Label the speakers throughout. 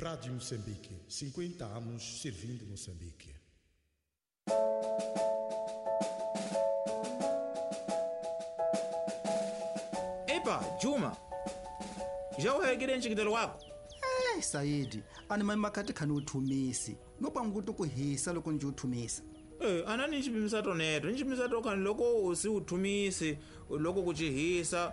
Speaker 1: Rádio Moçambique, 50 anos servindo Moçambique.
Speaker 2: Epa, Juma, já uhekile ncikitelo wako?
Speaker 3: Eh, Saidi, ani mani makati khani uthumisi. No panguti ku hisa loko ndzi uthumisa.
Speaker 2: Anani ncipimisa toneto, ncipimisa tokhani loko usi uthumisi, loko kucihisa,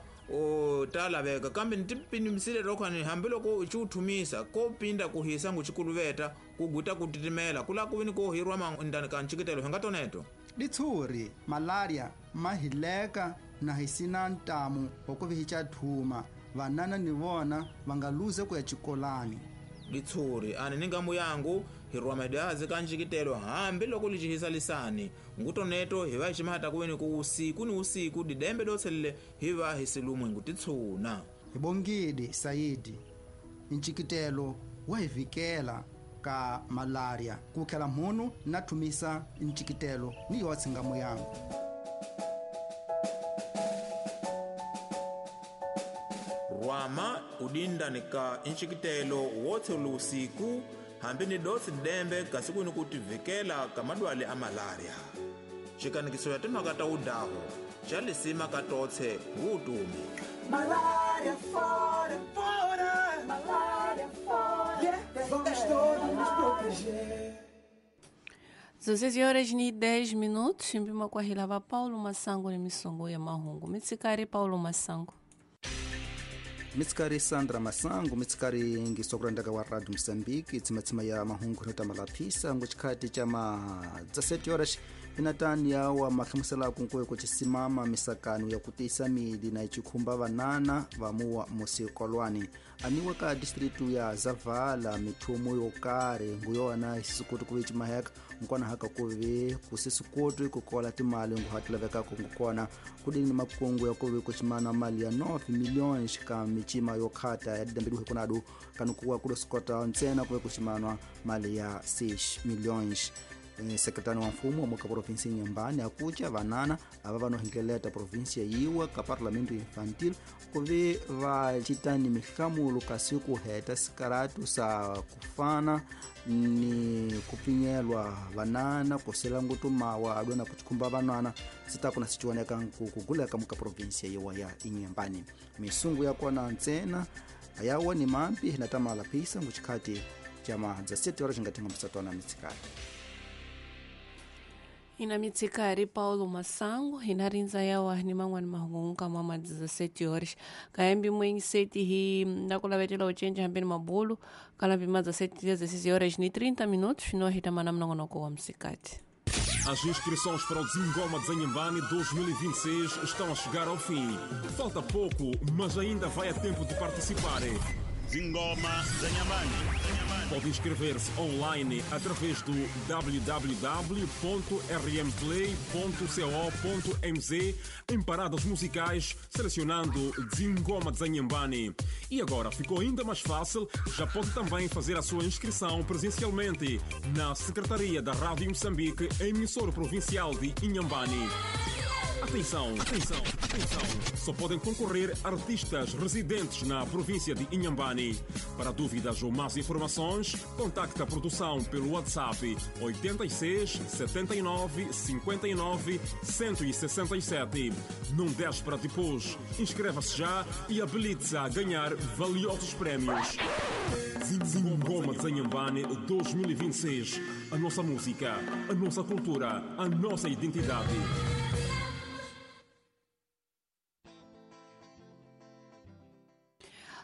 Speaker 2: ta laveka kambe ntipimisile tokhani hambi loko uci uthumisa ko pinda kuhisa ngucikuluveta kuguta kutitimela kula kuvini ko hirwa mandani ka ncikitelo hinga toneto.
Speaker 3: Litshuri, malaria, mahileka na hisina ntamu wa ku vihica thuma. Vanana ni vona va nga luze ku ya xikolani.
Speaker 2: Litshuri, ani ni ngamu yangu hirwa madazi ka ncikitelo hambi loko licihisa lisani ngutoneto hi va hi ximahata kuveni ku usiku ni usiku didembe dotselele hi va hi silumwe ngutitshuna.
Speaker 3: Hi bongile Saidi, ncikitelo wa hi vikela ka malaria ku khela mhunu na thumisa ncikitelo ni yotse ngamu yangu.
Speaker 2: Rwama udindani ka ncikitelo wotse usiku hambi ni dosi dembe kasi kuni kutivikela ka madwale a malaria. Xikanikiso ya timhaka ta udaho xa lisima ka totse ngutumi.
Speaker 4: Malaria fora, fora, malaria fora. Yeah, vamos todos nos proteger.
Speaker 5: 16 horas e 10 minutos, mpima kwa hilava Paulo Masango ni misongo ya mahungu. Mitsikari Paulo Masango.
Speaker 3: Mitsikari Sandra Masango, mitsikari ngisokurandaka wa Radio Mozambique, tsimatsima ya mahungu nota malaphisa ngochikhati cha ma 17 horas inatani ya wa mahlamusela kunkoyo kuchisimama misakano ya kutisa mili na ichikhumba vanana vamuwa musikolwani aniwa ka distritu ya Zavala mithumo yokare nguyona isisukuti kuve chimaheka nkwana haka kuve kusisukuti kukola timali nguhatilavekako ngukona kudini makungu ya kuve kuchimana mali ya 9 milhões ka michima yokhata ya didambiduhe kunadu kanukuwa kudosikota ntsena kuve kuchimanwa mali ya 6 milhões. Sekretari wa mfumo wa muka provinsi Inhambane akucha vanana ava vanohengeleta provinsia yiwa ka parlamento infantil kuve va citani mihlamulo kasi kuheta sikaratu sa kufana ni kupfinyelwa vanana kusela ngutu mawa adona kuchikhumba vanana sitakuna sichiwoneka kuguleka muka provinsia yiwa ya Inhambane. Misungu yakona ntsena ayawa ni mampi natamala phisa nguchikhati cha ma 17 horas ngathenga msatwana mitsikati.
Speaker 5: Ina mitsikari Paulo Masango inarinza yawa ni mangwani mahungu kama ma 17 horas kaembi mwengi seti hi nakulavetela uchenja hambeni mabulu kala bima 16 horas ni 30 minutos no hitamana mnongonoko wa msikati.
Speaker 6: As inscrições para o Zingoma de Inhambane 2026 estão a chegar ao fim. Falta pouco, mas ainda vai a tempo de participar.
Speaker 7: Zingoma de Inhambane.
Speaker 6: Pode inscrever-se online através do www.rmplay.co.mz em paradas musicais, selecionando Zingoma de Inhambane. E agora ficou ainda mais fácil, já pode também fazer a sua inscrição presencialmente na Secretaria da Rádio Moçambique, emissora provincial de Inhambane. Atenção, atenção, atenção! Só podem concorrer artistas residentes na província de Inhambane. Para dúvidas ou mais informações, contacte a produção pelo WhatsApp 86 79 59 167. Não deixe para depois. Inscreva-se já e habilite-se a ganhar valiosos prémios. Zingoma de Inhambane 2026. A nossa música, a nossa cultura, a nossa identidade.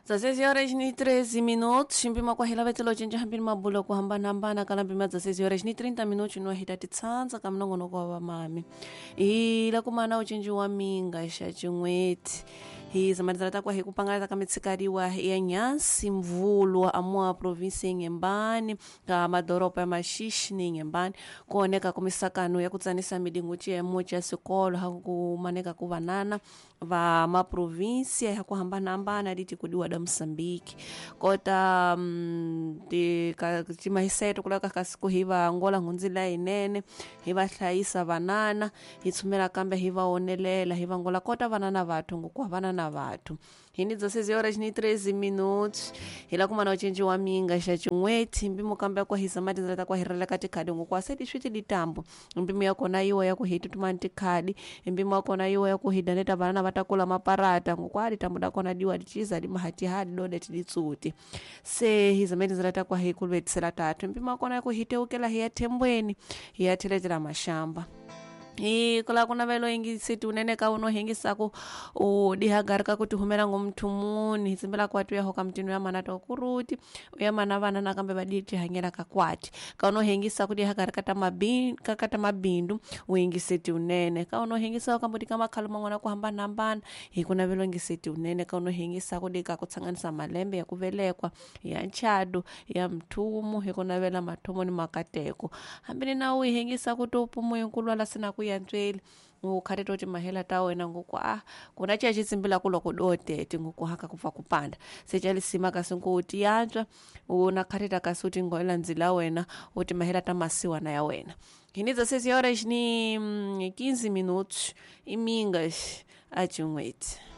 Speaker 5: 16 horas e 13 minutos, mpima kwa hila vetelo chenja hambini mabulo kuhambana hambana kala mpima 16 horas e 30 minutos no hita titsanza kamnongono kwa vamami. Ila kumana uchenji wa minga xa chin'weti. Hi zamalizana takwa hi kupangala kamitsikariwa ya Nyansi Mvulwa amua provinsi Inhambane ka madoroba ya Maxixe ni Inhambane kuoneka kumisakano ya kutsanisa midingo chiyemo cha sikolo hakumaneka ku vanana va maprovinsia ya kuhambanahambana liti kudiwa da Moçambique kota timahiseto kulaka kasiku hi va angola nhundzila yinene hi va hlayisa vanana hi tshumela kambe hi va onelela hi va angola kota vanana vathu ngoku vanana vathu Hi ni 16 horas ni 13 minutos. Hi la kuma na ucinci wa minga xa cin'weti mpimo kambe ya ku hisa mati ndlela ta ku hirela ka tikhadi ngokwa se ti switi ditambo mpimo ya kona yiwa ya ku hi tutumani tikhadi mpimo wa kona yiwa ya ku hi daneta vana va ta kula maparata ngokwa ditambo da kona diwa diciza di mahatihadi dode tiditsuti se hi zame tindzela ta kwa hi kulwetisela tatu mpimo wa kona ya ku hi teukela hi ya thembweni hi ya theletela mashamba hi kula ku navelo yingiseti unene ka uno hingisaku u dihagari ka ku tihumela ngomuthu muni hi tsimbela kwati uya hoka mutini uya mana to kuruti uya mana vana nakambe va di tihanyela ka kwati ka uno hingisaku dihagari ka ta mabindu ka ta mabindu u yingiseti unene ka uno hingisaku kambe di ka makhalo man'wana ku hambanahambana hi ku navelo yingiseti unene ka uno hingisaku di ka ku tsanganisa malembe ya ku velekwa ya nchado ya mthumu hi ku navela mathomo ni makateko hambi ni na u hingisaku to pumu kulwala sina ku ya ntsweli u khati to timahela ta wena ngoku a kuna ciya xitsimbila ku loko do tete ngoku haka ku pfa ku panda se ca lisima kasi nku u tiyantswa u na khati ta kasi u tingoela ndzila wena u timahela ta masiwana ya wena hi ni 16 horas ni 15 minutos imingas a cin'weti.